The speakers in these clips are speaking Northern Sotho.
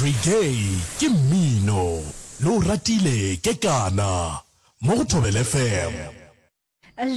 Reggae ke mmino, le o ratile kekana mo go Thobela FM.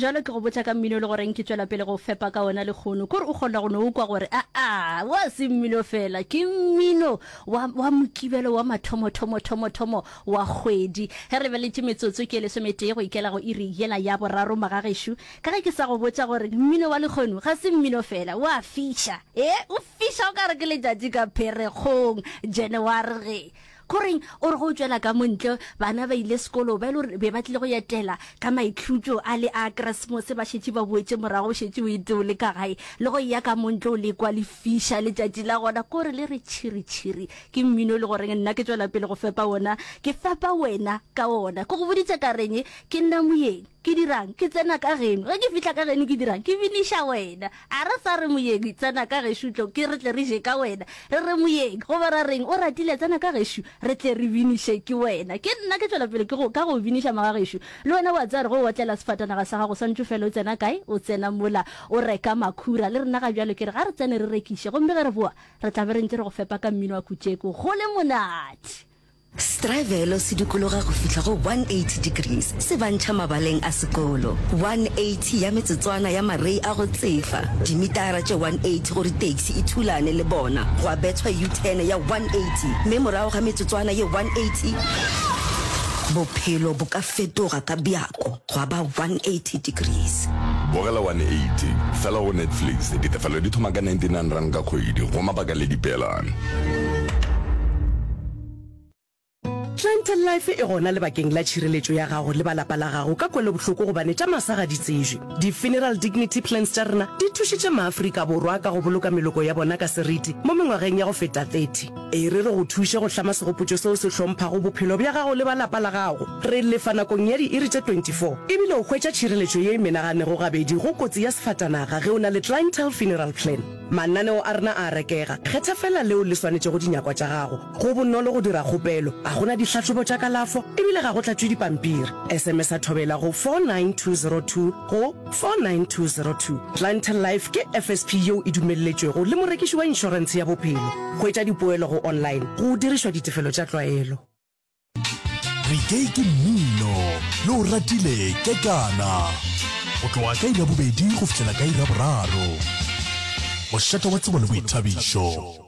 Jalo ke go botša ka mmino e le goreng ke tšwela pele go fepa ka ona lekgono. Kore o kgona go no o kwa gore aa wa se mmino fela, ke mmino wa, wa mokibelo wa mathomo thomo thomo thomo wa kgwedi. Ge re lebeletše metsotso ke e lesometee go ikela go iri yela ya boraro magagešo. Ka ge ke sa go botša gore mmino wa lekgono ga se mmino fela, wa fiša. E, o fiša o ka re ke letšatši ka Pherekgong, January ge. Koreng o re go tšwela ka mo ntle, bana ba ile sekolo, ba e le gore be ba tlile go etela ka maikhutšo a le a Keresemose, ba šetše ba boetše morago, o šetše o ete o le ka gae, le go eya ka mo ntle o le kwa le fiša letšatši la gona, kore le re tšhiri tšhiri. Ke mmino e le goreng nna ke tšwela pele go fepa wona, ke fepa wena ka wona. Ke go boditše ka reng, ke nna moyeng. Ke dirang? Ke tsena ka geno. Ge ke fihla ka geno ke dirang? Ke biniša wena. A re sa re moyeng, tsena ka gešo tlo, ke re tle re je ka wena. Re re moyeng, goba ra reng, o ratile, tsena ka gešo, re tle re biniše ke wena. Ke nna ke tšwela pele ke go, ka go biniša magagešo. Le wena o a tseba gore ge o otlela sefatanaga sa gago, swantše o fele o tsena kae? O tsena mola o reka makhura. Le rena ga bjalo ke re ga re tsene re rekiše, gomme ge re boa, re tla be re ntše re go fepa ka mmino wa Kutšeko. Go le monate! Setrabelo se dikologa go fihla go 180 degrees se ba ntšha mabaleng a sekolo. 180 ya metsotswana ya marei a go tsefa, dimitara tše 180 gore taxi e thulane le bona, gwa bethwa U-turn ya 180 mme morago ga metsotswana ye 180, bophelo bo ka fetoga ka bjako gwa ba 180 degrees. Bogela 180 fela go Netflix. Ditefelo di thoma ka R99 ka kgwedi go mabaka le dipeelano. Clientele Life e gona lebakeng la tšhireletšo ya gago le ba lapa la gago ka kwelobohloko gobane tša masa ga di tsejwe. Di-Funeral Dignity Plans tša rena di thušitše maAfrika Borwa ka go boloka meloko ya bona ka seriti mo mengwageng ya go feta 30. E re re go thuše go hlama segopotšo seo se hlomphago bophelo bja gago le ba lapa la gago. Re lefa nakong ya diiri tše 24 ebile o hwetša tšhireletšo ye e menaganego gabedi go kotsi ya sefatanaga ge o na le Clientele Funeral Plan. Mananeo a rena a a rekega. Kgetha feela leo le swanetšego dinyakwa tša gago. Go bonolo go dira kgopelo, ga go na dihlahlobo tša kalafo e bile ga go tlatšwe dipampiri. SMS-a Thobela go 49202 go 49202. Clientele Life ke FSP yeo e dumelletšwego le morekiši wa inšorentshe ya bophelo. Hwetša dipoelo go online go dirišwa ditefelo tša tlwaelo. Reggae ke mmino, le o ratile kekana. Go tloga ka iri ya bobedi go fihlela ka iri ya boraro. Mošate wa tsebo le boithabišo.